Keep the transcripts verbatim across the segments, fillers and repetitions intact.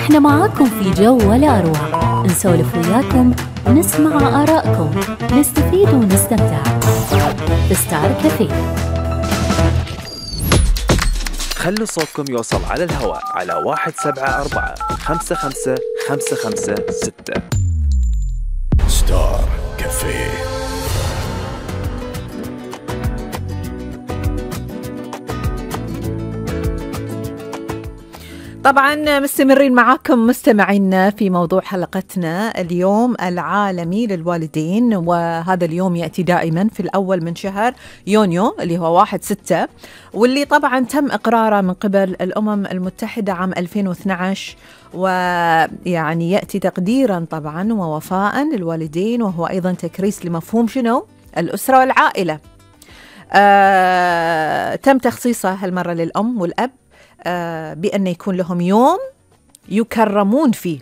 احنا معاكم في جو ولا أروع، نسولف وياكم، نسمع آراءكم، نستفيد ونستمتع في ستار كافيه. خلوا صوتكم يوصل على الهواء على واحد سبعة أربعة خمسة خمسة خمسة خمسة ستة. ستار كافيه. طبعا مستمرين معاكم مستمعينا في موضوع حلقتنا اليوم العالمي للوالدين، وهذا اليوم يأتي دائما في الأول من شهر يونيو اللي هو واحد ستة، واللي طبعا تم إقراره من قبل الأمم المتحدة عام ألفين واثني عشر، ويعني يأتي تقديرا طبعا ووفاء للوالدين، وهو أيضا تكريس لمفهوم شنو؟ الأسرة والعائلة. آه تم تخصيصه هالمرة للأم والأب آه بأن يكون لهم يوم يكرمون فيه.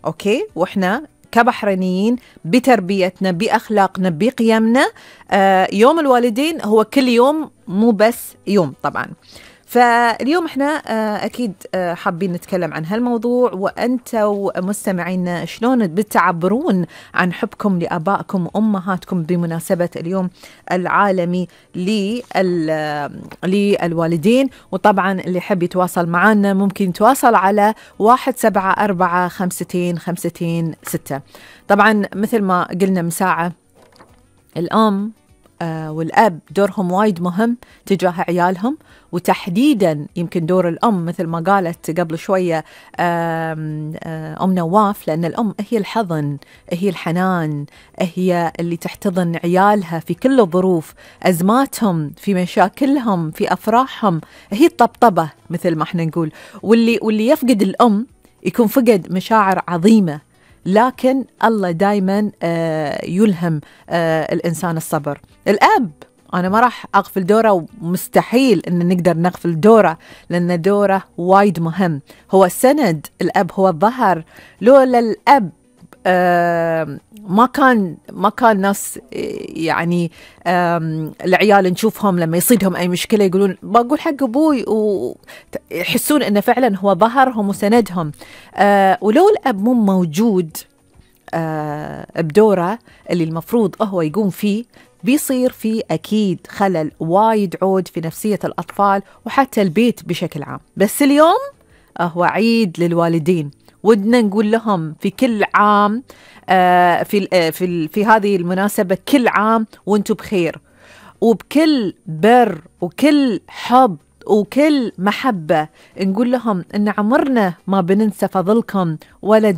أوكي، وإحنا كبحرينيين بتربيتنا بأخلاقنا بقيمنا آه يوم الوالدين هو كل يوم، مو بس يوم طبعا. فاليوم احنا آه أكيد آه حابين نتكلم عن هالموضوع، وأنتوا مستمعين شلون بتعبرون عن حبكم لآبائكم وأمهاتكم بمناسبة اليوم العالمي للوالدين. وطبعا اللي يحب يتواصل معنا ممكن يتواصل على واحد سبعة أربعة خمستين خمستين ستة. طبعا مثل ما قلنا من ساعة، الأم آه والأب دورهم وايد مهم تجاه عيالهم، وتحديدا يمكن دور الأم مثل ما قالت قبل شوية آم آم أم نواف، لأن الأم هي الحضن، هي الحنان، هي اللي تحتضن عيالها في كل الظروف، أزماتهم، في مشاكلهم، في أفراحهم، هي الطبطبة مثل ما احنا نقول. واللي, واللي يفقد الأم يكون فقد مشاعر عظيمة، لكن الله دايما آه يلهم آه الإنسان الصبر. الأب أنا ما راح أغفل دوره، ومستحيل أن نقدر نغفل دوره، لأن دوره وايد مهم، هو السند، الأب هو الظهر. لولا الأب آه ما كان ما كان ناس يعني العيال نشوفهم لما يصيدهم أي مشكلة يقولون بقول حق أبوي، ويحسون أنه فعلا هو ظهرهم وسندهم. آه ولو الأب مو موجود آه بدوره اللي المفروض هو يقوم فيه، بيصير في أكيد خلل وايد عود في نفسية الأطفال وحتى البيت بشكل عام. بس اليوم هو عيد للوالدين، ودنا نقول لهم في كل عام آه في آه في في هذه المناسبة كل عام وانتم بخير، وبكل بر وكل حب وكل محبة نقول لهم إن عمرنا ما بننسى فضلكم ولا